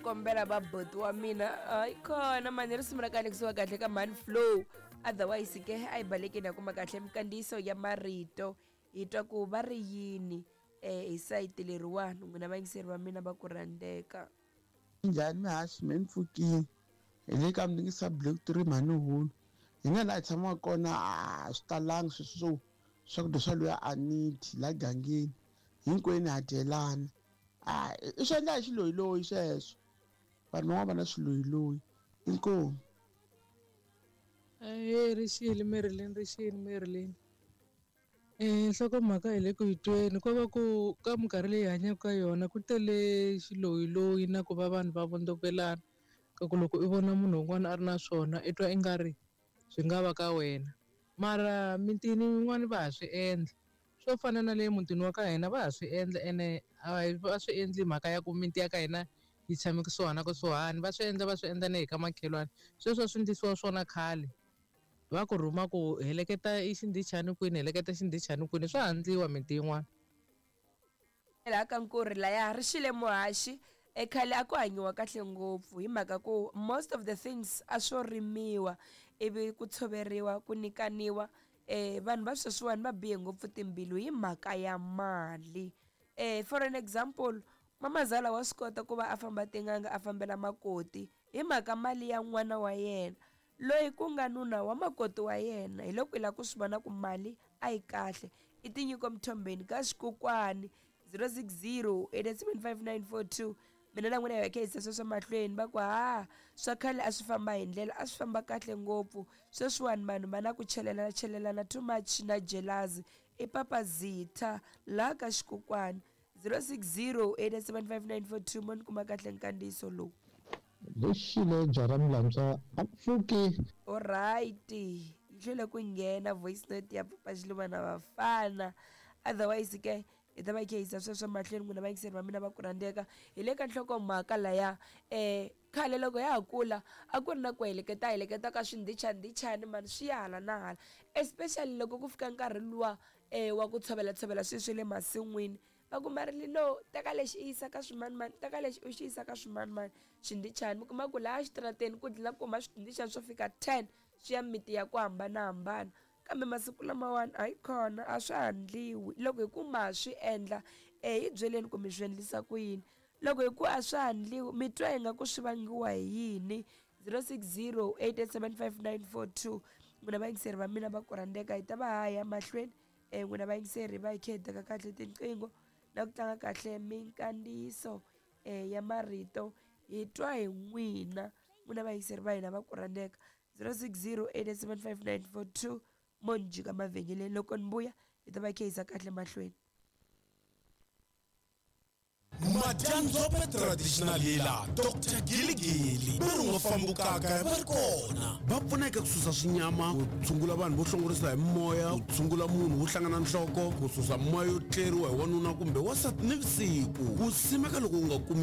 kombela va boti wa mina hayi kona mani risimu ra kahle kusuka kahle ka mani flow otherwise ke a hi balekeni ya kuma kahle mikandziyiso ya marito hi twa ku va ri yini um hi sayiti leriwani n'wina vayingiseri va mina va ku rhandzeka. Njhani mihaxi me ni pfukile hi le ka mlingisa block 3 mhani hulu hina laha hi tshamaka kona a swi talangi sweswo swo swakudya swa luya aniti la gangeni hinkwenu ha dyelana a i swi endla hi xiloyiloyi sweswo vanhu van'wana va na swiloyiloyi inkomu. Ahee rixile Marilyn rixile Marilyn. Nhlokomhaka hi le ku yi tweni ko va ku ka minkarhi leyi hi hanyaka ka yona ku tele xiloyiloyi na ku va vanhu va vondzokelana ka ku loko i vona munhu un'wana a ri na swona i twa i nga ri swi nga va ka wena mara mitini yin'wani va ha swi endla swo fana na le mutini wa ka hina va ha swi endla ene a va swi endli mhaka ya ku miti ya ka hina yi tshame kusuhana na kusuhani va swi endla va swi endla na hi ka makhelwani sweswo a swi endlisiwa swona khale. Va ku rhuma ku heleketa i xindhichani kwini heleketa xindhichani kwini swa ha ndliwa miti yin'wana. Laha ka Nkurhi laya ri xile muhaxi e khale a ku hanyiwa kahle ngopfu hi mhaka ku most of the things a swo rimiwa ivi ku tshoveriwa ku nyikaniwa um vanhu va sweswiwani va bihe ngopfu timbilu hi mhaka ya mali um for an example mamazala wa swi kota ku va a famba tin'anga a fambela makoti hi mhaka mali ya n'wana wa yena Loyi ku nga nuna wa makoti wa yena, hiloko i lava ku swi vona ku mali a yi kahle. I tinyiko Mthombeni ka xikokwani 060 875 942 Mina na n'wina hi va kha hi yisa sweswo mahlweni va ku ha swa khale a swi famba hi ndlela a swi famba kahle ngopfu sweswiwani vanhu va na ku chelelana chelelana too much na jealousy i papa Zitha laha ka xikokwani 060 875 942 mo ni kuma kahle nkandziyiso lowu. Lexile byala milantswa a pfuki. Alright yi hlwele ku nghena voice note ya papa Xiluva na vafana otherwise ke hi ta va hi kha hi yisa sweswo mahlweni n'wina vayingiseri va mina va ku rhandzeka hi le ka nhlokomhaka laya um khale loko ya ha kula a ku ri na ku heleketa heleketa ka swindhichadhichani mani swi ya hala na hala especially loko ku fika nkarhi luwa um wa ku tshovela tshovela sweswi swa le masin'wini Va ku Marilyn no teka lexi i yisa ka swimanimani teka lexi u xi yisa ka swimanimani xindhichani mi kuma ku laha xitarateni ku dlina ku huma swindhichani swo fika 10 swi ya miti ya ku hambanahambana kambe masiku lamawani hayi khona a swa ha ndliwi loko hi ku ma swi endla e hi byeleni ku mi swi endlisa ku yini loko hi ku a swa ha ndliwi mi twa ingaku swi vangiwa hi yini 060 8875942 n'wina vayingiseri va mina va ku rhandzeka hi ta va ha ya mahlweni E n'wina vayingiseri va hi khe hi teka kahle tinqingho na ku tlanga kahle minkandziyiso e ya marito hi twa hi n'wina n'wina vayingiseri va hina va ku rhandzeka 060 875 mo ni jika mavhengeleni loko ni vuya hi ta va hi khe hi yisa kahle mahlweni. Madyandzhope Traditional Healer Doctor Giligili va ri nga fambukaka va ri kona. Va pfuna eka ku susa swinyama, ku tshungula vanhu vo hlongorisa hi mimoya, ku tshungula munhu wo hlangana nhloko, ku susa mimoya yo tleriwa hi wanuna kumbe wansati nivusiku, ku simeka loko u nga kumi.